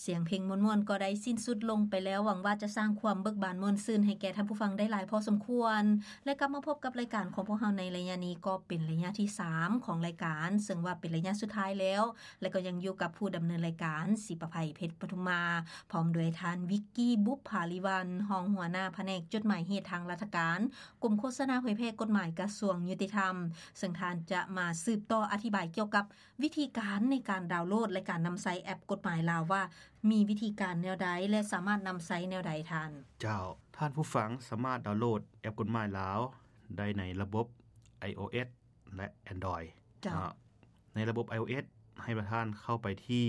ສຽງເພງມ່ວນໆກໍໄດ້ສິ້ນສຸດລົງໄປແລ້ວ, ຫວັງວ່າຈະສ້າງຄວາມເບີກບານມ່ວນຊື່ນໃຫ້ແກ່ທ່ານຜູ້ຟັງໄດ້ຫຼາຍພໍສົມຄວນ ແລະ ກັບມາພົບກັບລາຍການຂອງພວກເຮົາໃນໄລຍະນີ້ ກໍເປັນໄລຍະທີສາມຂອງລາຍການ, ເຊິ່ງວ່າເປັນໄລຍະສຸດທ້າຍແລ້ວ ແລະ ກໍຍັງຢູ່ກັບຜູ້ດຳເນີນລາຍການ ສີປະໄພ ເພັດປະທຸມມາ ພ້ອມດ້ວຍທ່ານ ວິກກີ ບຸບຜາລິວັນ ຮອງຫົວໜ້າພະແນກຈົດໝາຍເຫດທາງລັດຖະການ ກົມໂຄສະນາເຜີຍແຜ່ກົດໝາຍກະຊວງຍຸຕິທຳ, ເຊິ່ງທ່ານຈະມາສືບຕໍ່ອະທິບາຍກ່ຽວກັບ ວິທີການໃນການດາວໂຫຼດ ແລະ ການນຳໃຊ້ແອັບກົດໝາຍລາວວ່າ ມີວິທີການແນວໃດ ແລະ ສາມາດນຳໃຊ້ແນວໃດທ່ານ? ເຈົ້າ, ທ່ານຜູ້ຟັງສາມາດດາວໂຫຼດແອັບກົດໝາຍລາວໄດ້ໃນລະບົບ iOS ແລະ Android ເຈົ້າ. ເນາະ. ໃນລະບົບ iOS ໃຫ້ທ່ານເຂົ້າໄປທີ່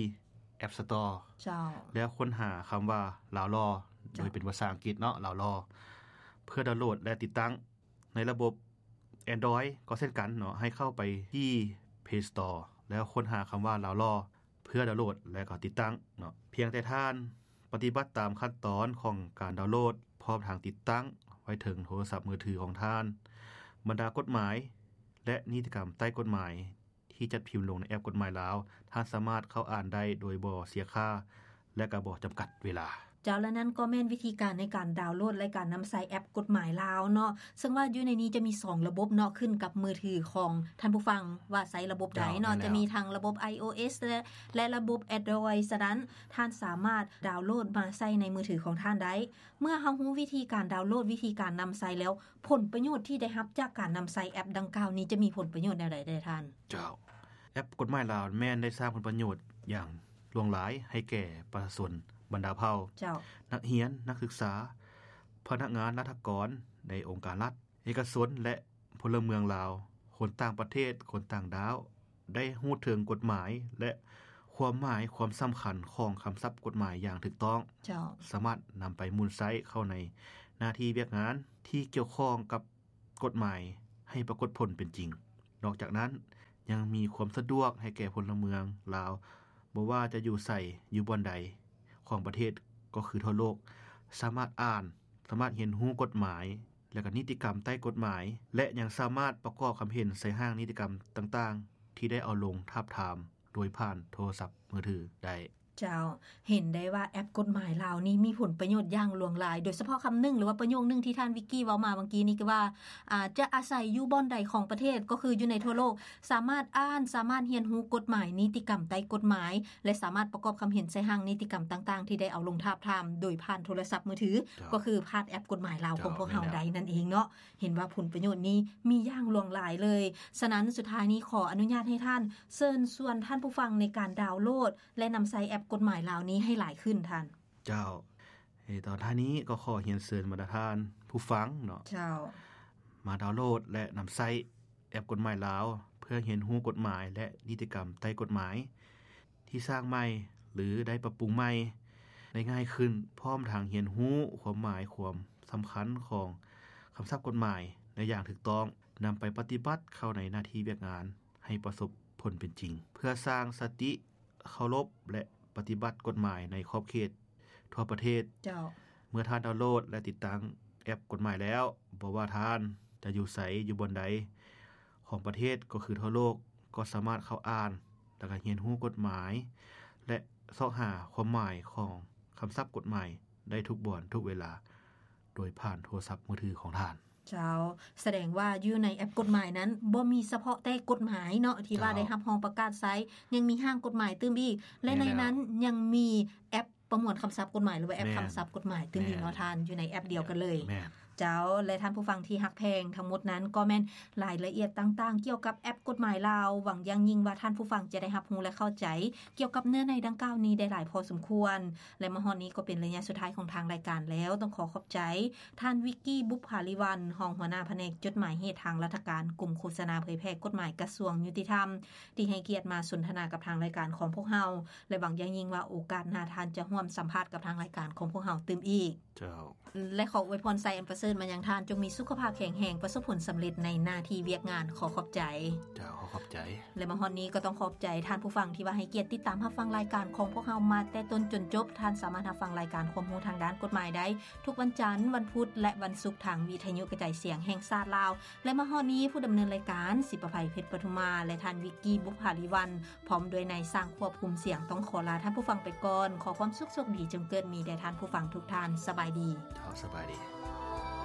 App Store ເຈົ້າ. ແລ້ວຄົ້ນຫາຄຳວ່າ ລາວຫຼໍ່ ເຈົ້າ. ໂດຍເປັນພາສາອັງກິດເນາະ ລາວຫຼໍ່ ເພື່ອດາວໂຫຼດ ແລະ ຕິດຕັ້ງ. ໃນລະບົບ Android ກໍເຊັ່ນກັນເນາະ, ໃຫ້ເຂົ້າໄປທີ່ Play Store ແລ້ວຄົ້ນຫາຄຳວ່າ ລາວຫຼໍ່ ເພື່ອດາວໂຫຼດ ແລະ ກໍຕິດຕັ້ງເນາະ. ພຽງແຕ່ທ່ານປະຕິບັດຕາມຂັ້ນຕອນຂອງການດາວໂຫຼດ ພ້ອມທັງຕິດຕັ້ງໄວ້ເທິງໂທລະສັບມືຖືຂອງທ່ານ, ບັນດາກົດໝາຍ ແລະ ນິຕິກຳໃຕ້ກົດໝາຍ ທີ່ຈັດພິມລົງໃນແອັບກົດໝາຍລາວ, ທ່ານສາມາດເຂົ້າອ່ານໄດ້ໂດຍບໍ່ເສຍຄ່າ ແລະ ກໍບໍ່ຈຳກັດເວລາ. ເຈົ້າ, ແລະ ນັ້ນກໍແມ່ນວິທີການໃນການດາວໂຫຼດ ແລະ ການນຳໃຊ້ແອັບກົດໝາຍລາວເນາະ, ເຊິ່ງວ່າຢູ່ໃນນີ້ຈະມີສອງລະບົບເນາະ, ຂຶ້ນກັບມືຖືຂອງທ່ານຜູ້ຟັງວ່າໃຊ້ລະບົບໃດເນາະ. ເຈົ້າ, ແມ່ນແລ້ວ. ຈະມີທັງລະບົບ iOS ແລະ ແລະ ລະບົບ Android. ສະນັ້ນ ທ່ານສາມາດດາວໂຫຼດມາໃຊ້ໃນມືຖືຂອງທ່ານໄດ້. ເມື່ອເຮົາຮູ້ວິທີການດາວໂຫຼດ, ວິທີການນຳໃຊ້ແລ້ວ, ຜົນປະໂຫຍດທີ່ໄດ້ຮັບຈາກການນຳໃຊ້ແອັບດັ່ງກ່າວນີ້ ຈະມີຜົນປະໂຫຍດແນວໃດແດ່ທ່ານ? ເຈົ້າ, ແອັບກົດໝາຍລາວແມ່ນໄດ້ສ້າງຜົນປະໂຫຍດຢ່າງຫຼວງຫຼາຍໃຫ້ແກ່ປະຊາຊົນບັນດາເຜົ່າ, ເຈົ້າ. ນັກຮຽນ, ນັກສຶກສາ, ພະນັກງານລັດຖະກອນໃນອົງການລັດ, ເອກະຊົນ ແລະ ພົນລະເມືອງລາວ, ຄົນຕ່າງປະເທດ, ຄົນຕ່າງດ້າວ ໄດ້ຮູ້ເຖິງກົດໝາຍ ແລະ ຄວາມໝາຍຄວາມສຳຄັນຂອງຄຳສັບກົດໝາຍຢ່າງຖືກຕ້ອງ, ເຈົ້າ. ສາມາດນຳໄປໝູນໃຊ້ເຂົ້າໃນໜ້າທີ່ວຽກງານທີ່ກ່ຽວຂ້ອງກັບ ກົດໝາຍໃຫ້ປາກົດຜົນເປັນຈິງ. ນອກຈາກນັ້ນ ຍັງມີຄວາມສະດວກໃຫ້ແກ່ພົນລະເມືອງລາວ, ບໍ່ວ່າຈະຢູ່ໃສ, ຢູ່ບ່ອນໃດຂອງປະເທດ ກໍຄືທົ່ວໂລກ, ສາມາດອ່ານ, ສາມາດຮຽນຮູ້ກົດໝາຍ ແລະ ກໍນິຕິກຳໃຕ້ກົດໝາຍ ແລະ ຍັງສາມາດປະກອບຄຳເຫັນໃສ່ຮ່າງນິຕິກຳຕ່າງໆ ທີ່ໄດ້ເອົາລົງທາບທາມໂດຍຜ່ານໂທລະສັບມືຖືໄດ້. ເຈົ້າ, ເຫັນໄດ້ວ່າແອັບກົດໝາຍລາວນີ້ມີຜົນປະໂຫຍດຢ່າງຫຼວງຫຼາຍ, ໂດຍສະເພາະຄຳໜຶ່ງ ຫຼືວ່າປະໂຫຍກໜຶ່ງທີ່ທ່ານວິກກີ້ເວົ້າມາຫວ່າງກີ້ນີ້ ຄືວ່າ ອາ ຈະອາໄສຢູ່ບ່ອນໃດຂອງປະເທດ ກໍຄືຢູ່ໃນທົ່ວໂລກ ສາມາດອ່ານ, ສາມາດຮຽນຮູ້ກົດໝາຍ, ນິຕິກຳໃຕ້ກົດໝາຍ ແລະ ສາມາດປະກອບຄຳເຫັນໃສ່ຮ່າງນິຕິກຳຕ່າງໆ ທີ່ໄດ້ເອົາລົງທາບທາມໂດຍຜ່ານໂທລະສັບມືຖື, ເຈົ້າ. ກໍຄືຜ່ານແອັບກົດໝາຍລາວຂອງພວກເຮົາໄດ້ນັ້ນເອງເນາະ. ເຫັນວ່າຜົນປະໂຫຍດນີ້ມີຢ່າງຫຼວງຫຼາຍເລີຍ. ສະນັ້ນ ສຸດທ້າຍນີ້ຂໍອະນຸຍາດໃຫ້ທ່ານເຊີນຊວນທ່ານຜູ້ຟັງໃນການດາວໂຫຼດ ແລະ ນຳໃຊ້ແອັບກົດໝາຍລາວນີ້ໃຫ້ຫຼາຍຂຶ້ນທ່ານ. ເຈົ້າ, ເອີ ຕອນທ້າຍນີ້ກໍຂໍຮຽນເຊີນບັນດາທ່ານຜູ້ຟັງເນາະ, ເຈົ້າ. ມາດາວໂຫຼດ ແລະ ນຳໃຊ້ແອັບກົດໝາຍລາວ ເພື່ອຮຽນຮູ້ກົດໝາຍ ແລະ ນິຕິກຳໃຕ້ກົດໝາຍ ທີ່ສ້າງໃໝ່ ຫຼື ໄດ້ປັບປຸງໃໝ່ໄດ້ງ່າຍຂຶ້ນ, ພ້ອມທັງຮຽນຮູ້ຄວາມໝາຍຄວາມສຳຄັນຂອງຄຳສັບກົດໝາຍໄດ້ຢ່າງຖືກຕ້ອງ, ນຳໄປປະຕິບັດເຂົ້າໃນໜ້າທີ່ວຽກງານໃຫ້ປະສົບຜົນເປັນຈິງ, ເພື່ອສ້າງສະຕິເຄົາລົບ ແລະ ປະຕິບັດກົດໝາຍໃນຂອບເຂດທົ່ວປະເທດ. ເຈົ້າ. ເມື່ອທ່ານດາວໂຫຼດ ແລະ ຕິດຕັ້ງແອັບກົດໝາຍແລ້ວ, ບໍ່ວ່າທ່ານຈະຢູ່ໃສ, ຢູ່ບ່ອນໃດຂອງປະເທດ ກໍຄືທົ່ວໂລກ, ກໍສາມາດເຂົ້າອ່ານ ແລະ ກໍຮຽນຮູ້ກົດໝາຍ ແລະ ຊອກຫາຄວາມໝາຍຂອງຄຳສັບກົດໝາຍໄດ້ທຸກບ່ອນທຸກເວລາ ໂດຍຜ່ານໂທລະສັບມືຖືຂອງທ່ານ. ເຈົ້າ, ສະແດງວ່າຢູ່ໃນແອັບກົດໝາຍນັ້ນ ບໍ່ມີສະເພາະແຕ່ກົດໝາຍເນາະ ທີ່ວ່າ ເຈົ້າ. ໄດ້ຮັບຮອງປະກາດໃຊ້, ຍັງມີຮ່າງກົດໝາຍຕື່ມອີກ ແລະ ແມ່ນແລ້ວ. ໃນນັ້ນຍັງມີແອັບປະມວນຄຳສັບກົດໝາຍ ຫຼືວ່າແອັບ ແມ່ນ ຄຳສັບກົດໝາຍຕື່ມອີກເນາະ ແມ່ນ ທ່ານ, ຢູ່ໃນແອັບດຽວກັນເລີຍ. ແມ່ນ. ເຈົ້າ, ແລະ ທ່ານຜູ້ຟັງທີ່ຮັກແພງ, ທັງໝົດນັ້ນກໍແມ່ນລາຍລະອຽດຕ່າງໆ ກ່ຽວກັບແອັບກົດໝາຍລາວ. ຫວັງຢ່າງຍິ່ງວ່າທ່ານຜູ້ຟັງຈະໄດ້ຮັບຮູ້ ແລະ ເຂົ້າໃຈກ່ຽວກັບເນື້ອໃນດັ່ງກ່າວນີ້ໄດ້ຫຼາຍພໍສົມຄວນ. ແລະ ມາຮອດນີ້ກໍເປັນໄລຍະສຸດທ້າຍຂອງທາງລາຍການແລ້ວ. ຕ້ອງຂໍຂອບໃຈທ່ານ ວິກກີ້ ບຸບຜາລິວັນ ຮອງຫົວໜ້າພະແນກຈົດໝາຍເຫດທາງລັດຖະການ ກົມໂຄສະນາເຜີຍແຜ່ກົດໝາຍກະຊວງຍຸຕິທຳ ທີ່ໃຫ້ກຽດມາສົນທະນາກັບທາງລາຍການຂອງພວກເຮົາ ແລະ ຫວັງຢ່າງຍິ່ງວ່າໂອກາດໜ້າທ່ານຈະຮ່ວມສຳພາດກັບທາງລາຍການຂອງພວກເຮົາຕື່ມອີກ. ເຈົ້າ. ແລະ ຂໍອວຍພອນໄຊອັນປະເສີ ນມາຍັງທ່ານ ຈົ່ງມີສຸຂະພາບແຂງແຮງ ປະສົບຜົນສຳເລັດໃນໜ້າທີ່ວຽກງານ. ຂໍຂອບໃຈ. ເຈົ້າ ຂໍຂອບໃຈ. ແລະ ມາຮອດນີ້ກໍຕ້ອງຂອບໃຈທ່ານຜູ້ຟັງທີ່ວ່າໃຫ້ກຽດຕິດຕາມຮັບຟັງລາຍການຂອງພວກເຮົາມາແຕ່ຕົ້ນຈົນຈົບ. ທ່ານສາມາດຮັບຟັງລາຍການຄວາມຮູ້ທາງດ້ານກົດໝາຍໄດ້ ທຸກວັນຈັນ, ວັນພຸດ ແລະ ວັນສຸກ ທາງວິທະຍຸກະຈາຍສຽງແຫ່ງຊາດລາວ. ແລະ ມາຮອດນີ້ຜູ້ດຳເນີນລາຍການ ສິປະໄພ ເພັດປະທຸມາ ແລະ ທ່ານ ວິກກີ້ ບຸບຜາລີວັນ ພ້ອມດ້ວຍນາຍຊ່າງຄວບຄຸມສຽງ ຕ້ອງຂໍລາທ່ານຜູ້ຟັງໄປກ່ອນ. ຂໍຄວາມສຸກໂຊກດີຈົ່ງເກີດມີແດ່ທ່ານຜູ້ຟັງທຸກທ່ານ. ສະບາຍດີ. ເຈົ້າ ສະບາຍດີ.